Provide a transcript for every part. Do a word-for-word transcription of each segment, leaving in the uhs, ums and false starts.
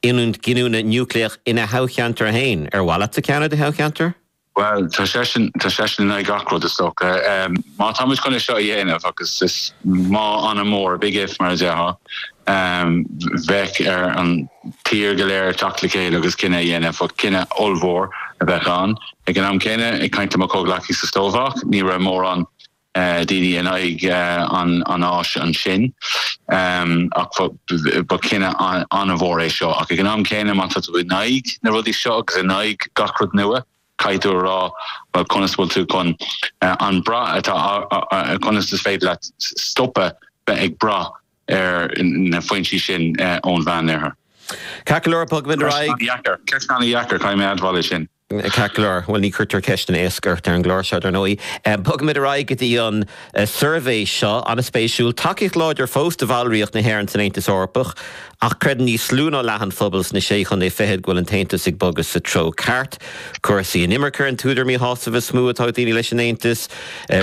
ionad giniúna núicléach ina thoghcheantar féin ar mhaith leat ceann i do thoghcheantar? Well tá seisean tá seisean in aghaidh gach rud is dócha. Má tá muid chun é seo a dhéanamh agus is má an-mhór big if mar a déarfá um, bheadh ar an tír go léir teacht le chéile agus cinneadh a dhéanamh cinneadh ollmhór a bheadh ann. Ag an am céanna ag caint le mo chomhghleacaí sa Slóvaic, ní raibh mórán uh, daoine in aghaidh uh, an an áis ansin um, ach ba cinneadh an-mhór é seo ach ag an am céanna má tá tú in aghaidh na rudaí seo agus in aghaidh gach rud nua. Caithfidh tú rá well conas bhfuil tú chun uh, an brath atá conas is féidir leat stopadh bheith ag brath ar na foinsí sin uh, ón Mheánoirthear. Ceol Ceist an-deacair caithfidh mé admháil sin. Ceolóir well ní chuirtear ceist éasca ar an gclár seo ar ndóigh. Bogfaimid ar aghaidh go dtí an suirbhé seo an-spéisiúil tacaíocht láidir fós do bhallraíocht na hÉireann san Aontas Eorpach ach creideann níos lú ná leath an phobail sna sé chontae fichead go bhfuil an tAontas ag bogadh sa treo ceart. Cúrsaí inimirce an t-údar míshásaimh is mó atá ag daoine leis an Aontas,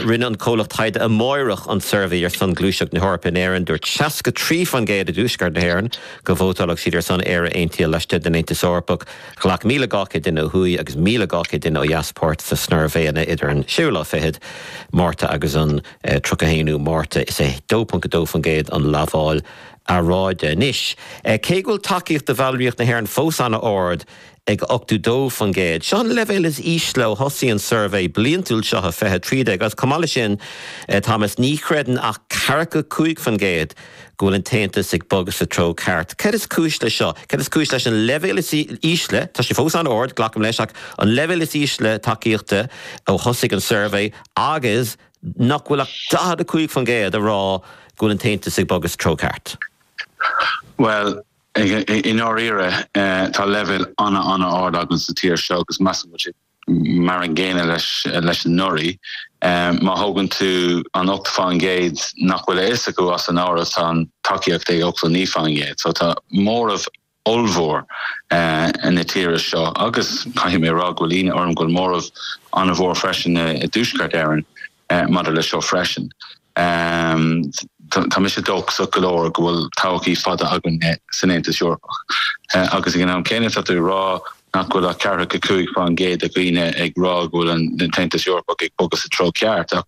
rinne an comhlacht taighde Amárach an suirbhé ar son Gluaiseacht na hEorpa in Éirinn dúirt seasca trí faoin gcéad i dtuaisceart na hÉireann go vótálfadh siad ar son Éire aontaithe laistigh den Aontas Eorpach. Ghlac míle dhá chéad duine ó thuaidh agus míle dhá chéad duine ó dheas páirt sa suirbhéanna idir an séú lá fichead Márta agus an eh, tríocha haonú Márta is é dó ponc dó faoin gcéad an lamháil earráide. Anois, eh, cé go bhfuil tacaíocht do bhallraíocht na hÉireann fós an-ard ag ochtó dó faoin gcéad. Seo an leibhéal is ísle ó thosaigh an suirbhé bliantúil seo fiche trí déag agus chomh maith leis sin eh, Thomas ní chreideann ach ceathracha cúig faoin gcéad go bhfuil an tAontas ag bogadh sa treo ceart. Cad is cúis le seo, Cad is cúis leis an leibhéal is ísle, Tá sé fós an-ard glacaim leis ach an leibhéal is ísle tacaíochta ó thosaigh an suirbhé agus nach bhfuil ach daichead a cúig faoin gcéad a rá go bhfuil an tAontas ag bogadh sa treo ceart. Well, i ndáiríre eh, tá leibhéal an-an-ard againn sa tír seo agus measaim mar an gcéanna leis leis anuraidh. Um, má thógann tú an ocht faoin gcéad nach bhfuil a fhios acu as an áireamh tá an tacaíocht ag ochtó naoi faoin gcéad, so tá móramh ollmhór uh, na tíre seo agus caithfidh mé rá go bhfuil ionadh orm go bhfuil móramh an-mhór freisin i dTuaisceart Éireann uh, maidir le seo freisin. Um, tá mise dóchasach go leor go bhfuil todhchaí fada againn san Aontas Eorpach. Uh, agus ag an am céanna tá tú rá nach bhfuil ach ceathracha cúig faoin gcéad de dhaoine ag rá go bhfuil an tAontas Eorpach ag bogadh sa treo ceart ach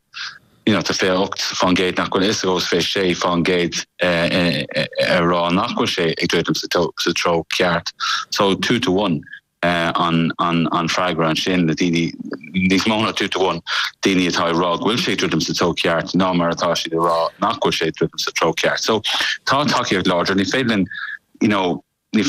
you know, tá fiche ocht faoin gcéad nach bhfuil is agus fiche sé faoin gcéad ag rá nach bhfuil sé ag druidim sa treo ceart. So two to one. Uh, an, an, an freagra ansin le daoine níos mó ná two to one daoine atá rá go bhfuil sé druidim sa treo ceart ná mar atá siad rá nach bhfuil sé druidim sa treo ceart. So tá tacaíocht láidir ní féidir you know,